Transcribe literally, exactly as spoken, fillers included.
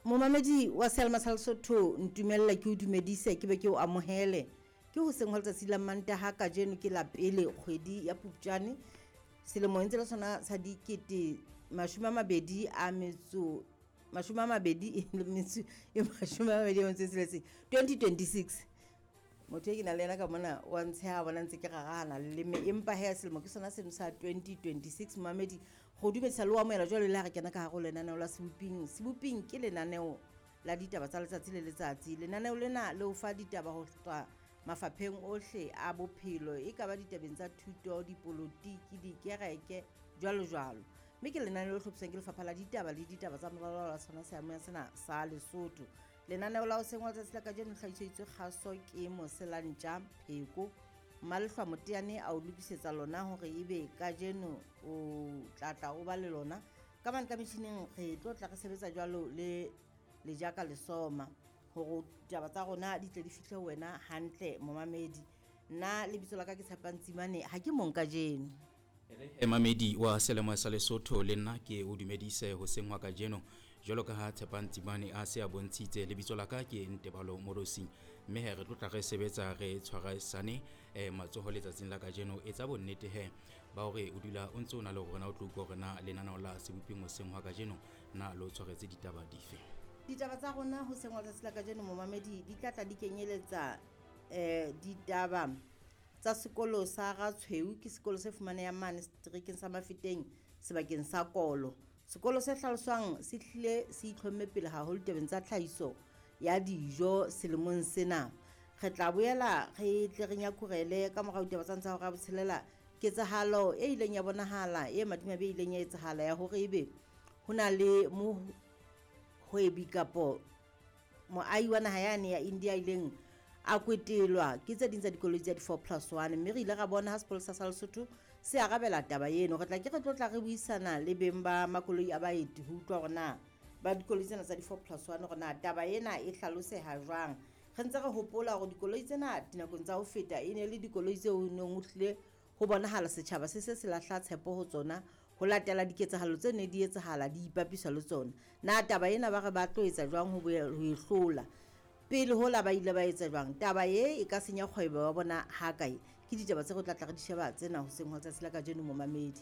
Momamedi wa Selma sa Lesotho, ntumella ke o dumedise, ke be ke o amohele. Ke hoseng hwa letsatsi la Mantaha, kajeno ke la pele kgwedi ya Phupjane selemo ntse le sona sa dikete mashome a mabedi a metso mashome a mabedi le metso e mashome a mabedi a metso e tsheletseng, twenty twenty-six. Motho e ke nang le yena ka mona wa ntsheha, bona ntse ke rarahana leleme, empa he, selemo ke sona seno sa twenty twenty-six. Momamedi, go dumedisa le o amohela jwalo le ha re kena ka hare ho lenaneo la Seboping. Seboping ke lenaneo la ditaba tsa letsatsi le letsatsi. Lenaneo lena le o fa ditaba ho tswa mafapheng ohle a bophelo, e ka ba ditabeng tsa thuto, dipolotiki, dikereke, jwalo jwalo. Mme ke lenaneo le hlophiswang ke Lefapha la Ditaba le Ditaba tsa Moralo la sona seamoya sena sa Lesotho. Lenaneo la hoseng wa letsatsi la kajeno le hlahiseditswe kgaso ke Moselantja Pheko Mmalehlwa Moteane, a o lokisetsa lona hore ebe kajeno o tlatla o ba le lona ka mane ka metjhining. Re tlo tla re sebetsa jwalo le Lejaka Lesoma hore ditaba tsa rona di tle di fihle ho wena hantle, momamedi. Nna lebitso la ka ke Tshepang Tsimane, ha ke mong kajeno. Mamedi wa Selemo sa Lesotho, le nna ke o dumedise hoseng hwa kajeno. Jwalo ka ha Tshepang Tsimane a se a bontshitse, lebitso la ka ke Ntebalo Morosi, mme he, re tlo tla re sebetsa re tshwarisane eh, matsoho letsatsing la kajeno. Etsa bonnete he ba hore o dula o ntse o na le rona, o tlo utlwa hore na lenaneo la Seboping hoseng hwa kajeno na le o tshwaretse ditaba dife. Ditaba tsa rona hoseng wa letsatsi la kajeno, momamedi, di tla tla di kenyeletsa um ditaba tsa sekolo sa Ratshweu. Ke sekolo se fumanehang mane seterekeng sa Mafeteng, sebakeng sa Kolo. Sekolo se hlaloswang se hlile se itlhomme pele haholo tabeng tsa tlhahiso ya dijo selemong sena. Re tla boela re tle re nyakurele ka morao ditaba tsa ntsa hora botshelela ketsahalo e ileng ya bonahala e madimabe e ileng ya etsahala ya hore ebe ho na le mohwebi kapo moahi wa naha yane ya India ileng a kwetelwa ke tse ding tsa dikoloi tsa di-four plus one, mme re ile ra bona ha sepolesa sa Lesotho se arabela taba eno. Re tla ke re tlo tla re buisana le beng ba makoloi a baeti ho utlwa hore na ba dikoloi tsena tsa di-four plus one, hore na taba ena e hlaloseha jwang. Re ntse re hopola hore dikoloi tsena dinakong tsa ho feta e ne le dikoloi tseo neng ho hlile ho bonahala setjhaba se se se lahla tshepo ho tsona ho latela diketsahalo tse ne di etsahala di ipapiswa le tsona. Na taba ena ba re ba tlo etsa jwang ho e hlola? Pele hola ba ile ba etsa jwang? Taba e e ka senya kgwebo ya bona ha kae? Ke ditaba tse re tla tla re di sheba tsena hoseng hwa letsatsi la kajeno, momamedi.